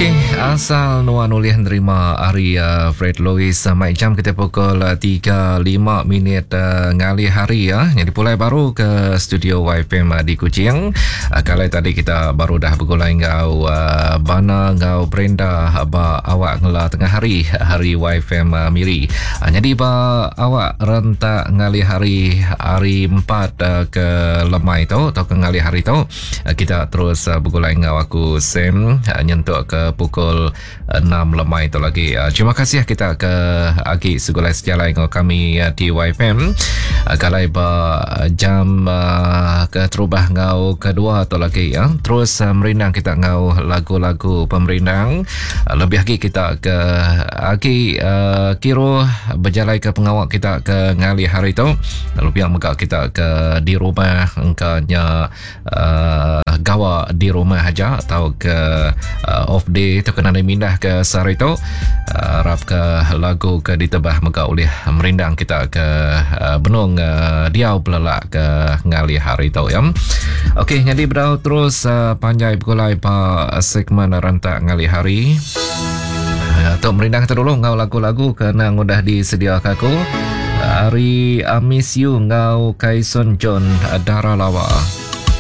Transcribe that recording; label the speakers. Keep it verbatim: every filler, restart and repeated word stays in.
Speaker 1: Okey, asal nuan ulih nerima ari uh, Fred Lewis uh, mai jam kita pukul uh, tiga lima minit uh, ngalih hari ya. Jadi pulai baru ke studio Y F M uh, di Kuching. Uh, kalau tadi kita baru dah bergulai ngau uh, Bana ngau Brenda ba awak ngela tengah hari hari Y F M uh, Miri. Uh, jadi ba awak rentak ngalih hari hari empat uh, ke lemai tu atau ke ngalih hari tu uh, kita terus uh, bergulai ngau aku Sam uh, nyentuk ke pukul enam lemai itu lagi. Terima kasih kita ke agi segulai sejalai dengan kami di Y F M. Kalau ba jam ke terubah ngau kedua atau lagi ya. Terus merindang kita ngau lagu-lagu pemerindang. Lebih lagi kita ke agi kiro berjalai ke pengawak kita ke ngalih hari itu. Lalu pihak megak kita ke di rumah engkanya uh, gawa di rumah aja atau ke uh, off day tu kena mindah ke sehari tu. Uh, harap ke lagu ke ditebah megak oleh merindang kita ke uh, benung uh, diau belelak ke ngalih hari tu ya. Okey, jadi berau terus uh, panjai bergulai pa segmen rentak ngalih hari. Uh, tok merindang kita dulu ngau lagu-lagu kena udah disediakan aku. Hari I Miss You ngau Kaison John Dara Lawa.